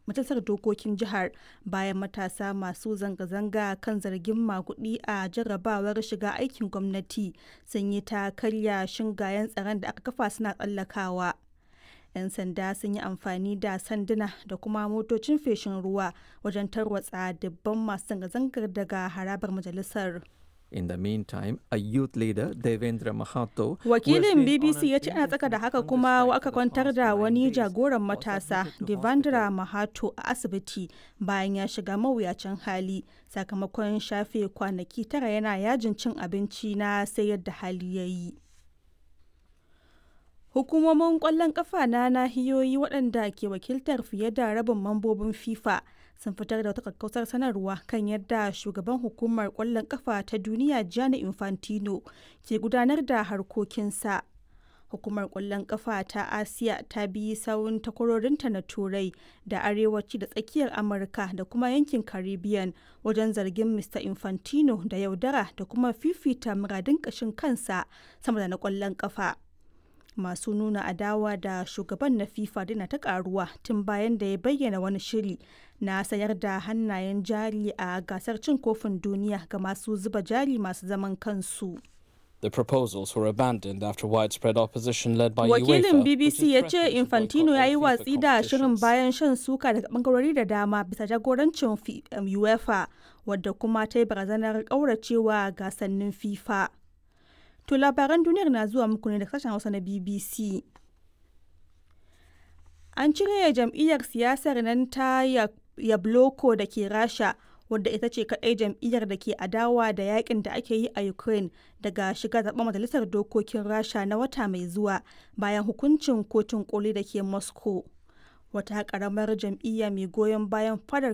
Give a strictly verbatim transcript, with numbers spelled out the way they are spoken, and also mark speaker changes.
Speaker 1: majalisar dokokin jihar bayan matasa masu zanga-zanga kan zargin maguɗi a jarrabawar shiga aikin gwamnati sun yi ta karya shingayen tsaron da aka kafa suna tsallakawa. 'Yan sanda sun yi amfani da sanduna da kuma motocin feshin ruwa wajen tarwatsa dubban masu zanga-zangar daga harabar majalisar.
Speaker 2: In the meantime, a youth leader, Devendra Mahato, who has
Speaker 1: Wakilin
Speaker 2: been on
Speaker 1: B B C
Speaker 2: an
Speaker 1: ya ce ana tsaka da
Speaker 2: indefinite
Speaker 1: haka
Speaker 2: hunger
Speaker 1: kuma
Speaker 2: strike
Speaker 1: aka
Speaker 2: for the
Speaker 1: kwantar
Speaker 2: past
Speaker 1: da
Speaker 2: nine
Speaker 1: wani
Speaker 2: days,
Speaker 1: jagoran
Speaker 2: was
Speaker 1: matasa
Speaker 2: admitted to
Speaker 1: Devendra
Speaker 2: hospital.
Speaker 1: Mahato a asibiti bayan ya shiga mawuyacin hali sakamakon shafe kwanaki tara yana yajin cin abinci na sai yadda hali ya yi. Hukumomin ƙwallon ƙafa na nahiyoyi waɗanda ke wakiltar fiye da rabin mambobin FIFA sun fitar da wata kakkausar sanarwa kan yadda shugaban hukumar ƙwallon ƙafa ta duniya Gianni Infantino ke gudanar da harkokinsa. Hukumar ƙwallon ƙafa ta Asiya ta bi sawun takwarorinta na Turai da Arewaci da Tsakiyar Amurka da kuma yankin Caribbean wajen zargin Mister Infantino da yaudara da kuma fifita muradun ƙashin kansa sama da na ƙwallon ƙafa. Masu nuna adawa da shugaban na FIFA dina ta karuwa tun bayan da ya bayyana wani shiri na sayar da hannayen jari a gasar cin kofin duniya ga masu zuba jari masu zaman kansu.
Speaker 3: The proposals were abandoned after widespread opposition led by
Speaker 1: Wakilin
Speaker 3: UEFA, which
Speaker 1: B B C
Speaker 3: has
Speaker 1: ya ce
Speaker 3: threatened to boycott
Speaker 1: Infantino ya
Speaker 3: all
Speaker 1: yi
Speaker 3: FIFA
Speaker 1: watsi da shirin
Speaker 3: competitions.
Speaker 1: bayan shan suka daga bangarori da dama bisa jagorancin Fi- um, UEFA, wadda kuma ta yi barazanar kauracewa gasannin FIFA. To, labaran duniyar na zuwa muku ne da sashen Hausa na B B C. An cire jam'iyyar siyasar nan ta Yabloko da ke Rasha, wadda ita ce kaɗai jam'iyyar da ke adawa da yakin da ake yi a Ukraine, daga shiga zaɓen majalisar dokokin Rasha na wata mai zuwa bayan hukuncin kotun koli da ke Moscow. Wata ƙaramar jam'iyya mai goyon bayan fadar